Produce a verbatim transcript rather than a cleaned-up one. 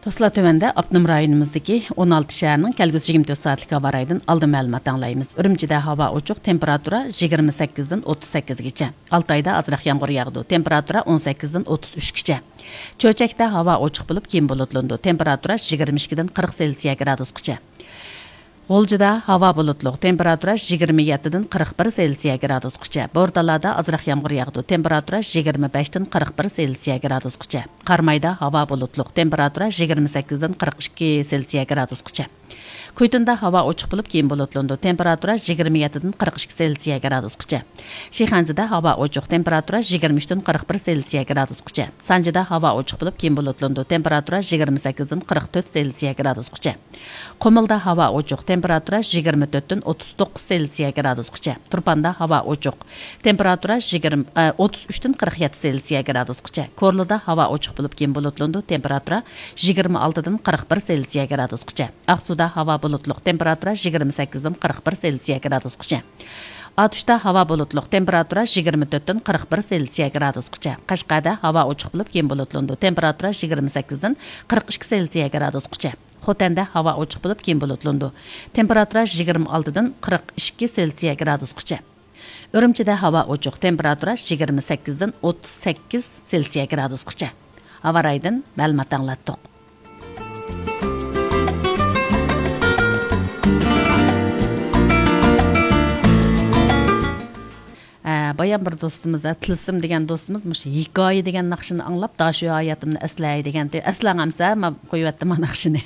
ئۇسلا تۆۋەندە ئاپتونوم رايونىمىزدىكى ئون ئالتە شەھەرنىڭ كەلگۈسى يىگىرمە تۆت سائەتلىك ھاۋا رايىدىن ئالدىن مەلۇمات ئاڭلايمىز. ئۈرۈمچىدە ھاۋا ئوچۇق، تېمپېراتۇرا يىگىرمە سەككىزدىن ئوتتۇز سەككىزگىچە. ئالتايدا ئازراق يامغۇر ياغىدۇ، تېمپېراتۇرا ئون سەككىزدىن ئوتتۇز ئۈچكىچە. چۆچەكتە ھاۋا ئوچۇق بولۇپ، كېيىن بۇلۇتلىنىدۇ، تېمپېراتۇرا يىگىرمە ئىككىدىن قىرىق سېلسىيە گرادۇسقىچە. غۇلجىدا ھاۋا بۇلۇتلۇق، تېمپېراتۇرا يىگىرمە يەتتىدىن قىرىق بىر سېلسىيە گرادۇسقىچە. بورتالادا ئازراق يامغۇر ياغىدۇ، تېمپېراتۇرا يىگىرمە بەشتىن قىرىق بىر سېلسىيە گرادۇسقىچە. قارامايدا ھاۋا بۇلۇتلۇق، تېمپېراتۇرا يىگىرمە سەككىزدىن قىرىق ئىككى سېلسىيە گرادۇسقىچە. كۇيتۇندا ھاۋا ئوچۇق بولۇپ، كېيىن بۇلۇتلىنىدۇ، تېمپېراتۇرا يىگىرمە يەتتىدىن قىرىق ئىككى سېلسىيە گرادۇسقىچە. شىخەنزىدە ھاۋا ئوچۇق، تېمپېراتۇرا يىگىرمە ئۈچتىن قىرىق بىر سېلسىيە گرادۇسقىچە. سانجىدا ھاۋا ئوچۇق بولۇپ، كېيىن بۇلۇتلىنىدۇ، تېمپېراتۇرا يىگىرمە سەككىزدىن قىرىق تۆت سېلسىيە گرادۇسقىچە. قۇمۇلدا ھاۋا ئوچۇق، تېمپېراتۇرا يىگىرمە تۆتتىن ئوتتۇز توققۇز سېلسىيە گرادۇسقىچە. تۇرپاندا ھاۋا ئوچۇق، تېمپېراتۇرا يىگىرمە، ئە، ئوتتۇز ئۈچتىن قىرىق يەتتە سېلسىيە گرادۇسقىچە. كورلىدا ھاۋا ئوچۇق بولۇپ، كېيىن بۇلۇتلىنىدۇ، تېمپېراتۇرا يىگىرمە ئالتىدىن قىرىق بىر سېلسىيە گرادۇسقىچە. ئاقسۇدا ھاۋا بۇلۇتلۇق، تېمپېراتۇرا يىگىرمە سەككىزدىن قىرىق بىر سېلسىيە گرادۇسقىچە. ئاتۇشتا ھاۋا بۇلۇتلۇق، تېمپېراتۇرا يىگىرمە تۆتتىن قىرىق بىر سېلسىيە گرادۇسقىچە. قەشقەردە ھاۋا ئوچۇق بولۇپ، كېيىن بۇلۇتلىنىدۇ، تېمپېراتۇرا يىگىرمە سەككىزدىن قىرىق ئىككى سېلسىيە گرادۇسقىچە. خوتەندە ھاۋا ئوچۇق بولۇپ، كېيىن بۇلۇتلىنىدۇ، تېمپېراتۇرا يىگىرمە ئالتىدىن قىرىق ئىككى سېلسىيە گرادۇسقىچە. ئۈرۈمچىدە ھاۋا ئوچۇق، تېمپېراتۇرا يىگىرمە سەككىزدىن ئوتتۇز سەككىز سېلسىيە گرادۇسقىچە. ھاۋا رايىدىن مەلۇمات ئاڭلاتتۇق. ئە، بايام بىر دوستىمىز، ئە، تىلسىم دېگەن دوستىمىز مۇشۇ ھېكايە دېگەن ناخشىنى ئاڭلاپ، داشۇ ھاياتىمنى ئەسلەي دېگەنتى. ئەسلەڭ ئەمسە، مەن قويۇۋەتتىم ئا ناخشىنى.